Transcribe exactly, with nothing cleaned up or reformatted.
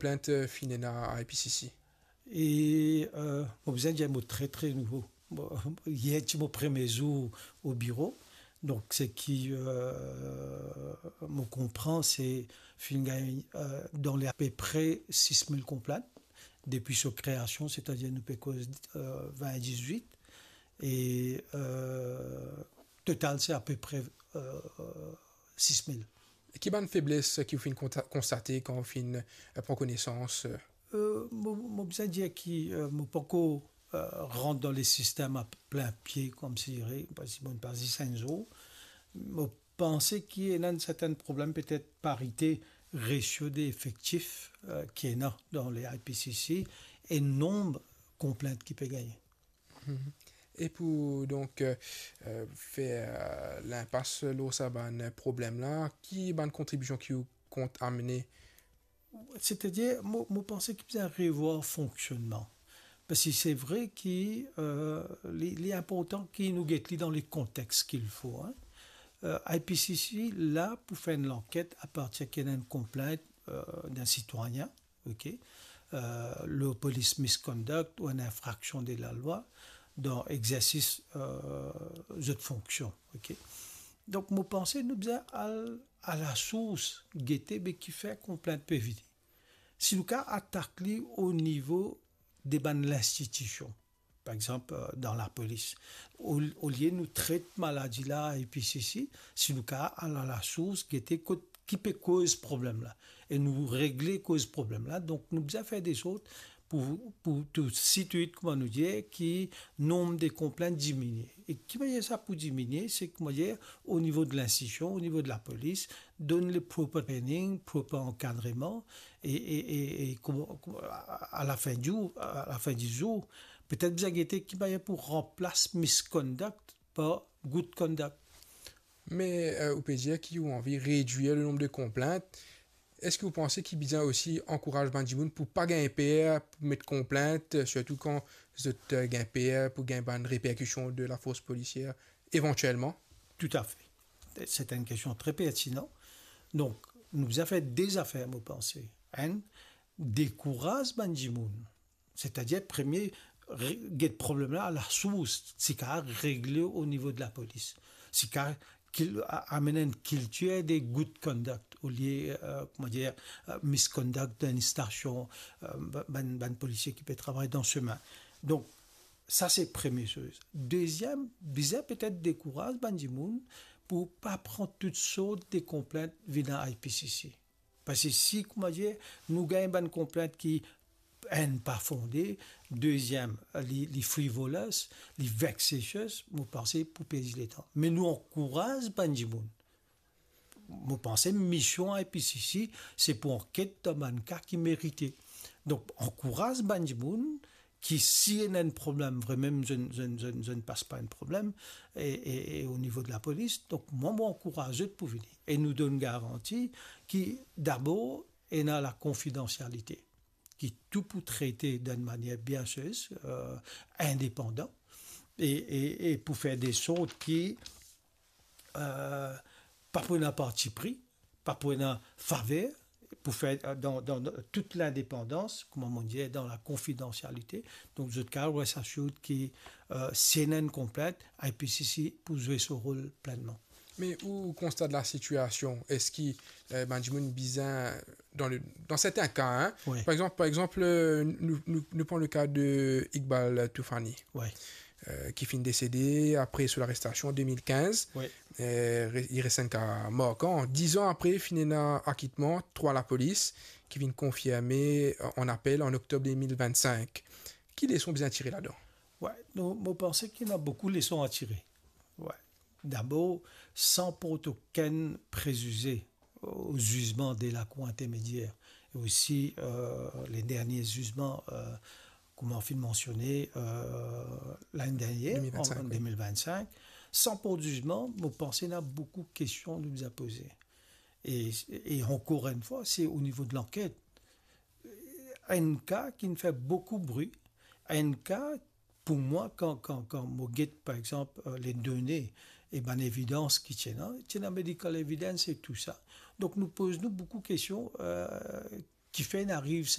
plint, eh, finn ena a I P C C? E, eh, mo bizin dir mo tre, tre nouvo. Mo, yer ti mo premie zour o biro. Donk, seki, eh, mo konpran, se finn gagn, eh, dan le apepre sis mil konplint depi so kreasion, setadir nou pe koz, eh, vin dizwit. E, eh, total, se apepre, eh, sis mil. Ki bann febles ki ou finn konta-, konstate kan ou finn, eh, pran konesans, eh? Eh, mo, mo bizin dir ki, eh, mo pankor, eh, rant dan le sistem a plin pie, koumsi dire, parski mo pa zis enn zour. Mo panse ki ena enn sertin problem, petet parite, resio de efektif, eh, ki ena dan le I P C C e nonb konplint ki pe gagne. Mhm. E pou, donk, eh, eh, fer, eh, linpas lor sa bann problem la, ki bann kontribision ki ou kont amene? Setadir, mo, mo panse ki bizin revwar fonksionnman. Parski se vre ki, eh, li, li inportan ki nou get li dan le kontex k'il fo, hein. Eh, I P C C la pou fer enn lanket apartir ki ena enn konplint, eh, d'enn sitwayin, ok, eh, lor police misconduct ou enn infraksion de lalwa dan egzersis, eh, zot fonksion, ok. Donk, mo panse nou bizin al a lasours, gete be kifer konplint pe vini. Si nou kav atak li o nivo de bann linstitision, par exanp, eh, dan lapolis, o-, olie nou tret maladi la a I P C C, si nou kav al a lasours, gete kot ki pe koz problem la, e nou regle koz problem la. Donk, nou bizin fer de sort pou, pou tou sitwit, kouma nou dir, ki nonb de konplint diminie. E ki manier sa pou diminie? Se, kouma dir, o nivo de linstitision, o nivo de lapolis, donn li proper training, proper ankadreman, e, e, e, e kouma, kouma, a, a lafin di, a lafin di zour, petet bizin gete ki manier pou ranplas misconduct par good conduct. Me, eh, ou pe dir ki ou anvi redwir le nonb de konplint. Eski ou panse ki bizin osi ankouraz bann dimoun pou pa gagn per pou met konplint, sirtou kan zot, eh, gagn per pou gagn bann reperkision de lafors polisier evantielman? Toutafe. Se enn kestion tre pertinan. Donk, nou bizin fer de zafer, mo panse. Enn, dekouraz bann dimoun. Setadir, premie, re-, get problem la a lasours, si kav regle o nivo de lapolis. Si kav kil-, a-, amenn enn kiltir de good conduct, olie, eh, kouma dir, eh, misconduct dan enn stasion, eh, ba-, bann, bann polisie ki pe travay dan semin. Donk, sa se premie soz. Deziem, bizin petet dekouraz bann dimoun pou pa pran tou sort de konplint vinn a I P C C. Parski si, kouma dir, nou gagn bann konplint ki, enn, pa fonde, deziem, li, li frivolous, li vexatious, mo panse pou perdi letan. Me nou ankouraz bann dimoun. Mo panse mision I P C C, se pou anket dan bann ka ki merite. Donk, ankouraz bann dimoun ki si ena enn problem, vremem zot, zot, zot, zot pas pa enn problem, e, e, e o nivo de lapolis, donk mwa, mo ankouraz zot pou vini. E nou donn garanti ki dabor ena lakonfidansialite, ki tou pou trete dan enn manier bien serye, eh, indepandan, e, e, e pou fer de sort ki, eh, pa pou ena parti pri, pa pou ena faver, pou fer, eh, dan, dan, dan tout lindepandans, kouma mo dir, dan lakonfidansialite. Donk, zot kav res assured ki, eh, si ena enn konplint, I P C C pou zwe so rol plennman. Me ou konstat lasitiasion, eski, eh, bann dimoun bizin, dan le, dan sertin ka, hein, wi, par exanp, par exanp, eh, nou, nou, nou pran le ka de Iqbal Toufiani, wi, eh, ki finn desede apre so larestasion an de mil kinz. Wi. Eh, re-, li res enn ka markan. Diz an apre, finn ena akitman trwa lapolis ki finn konfirme an apel an oktob de mil vinn-sink. Ki leson bizin tire ladan? Wi, nou, mo panse ki ena boukou leson a tire. Wi. Dabor, san port okenn prezize o zizman de Lakour Intermediaire, e osi, eh, le dernie zizman, eh, kouma ou finn mansione, eh, lane dernier, de mil vinn-sink, an, wi, de mil vinn-sink, san port zizman, mo panse ena boukou kestion nou bizin poze. E, e ankor enn fwa, se o nivo de lanket. Enn ka ki finn fer boukou bri, enn ka, pou mwa, kan, kan, kan mo get, par exanp, eh, le done e bann evidans ki ti ena, ti ena medical evidence e tou sa. Donk, nou poz nou boukou kestion, eh, Kifer inn ariv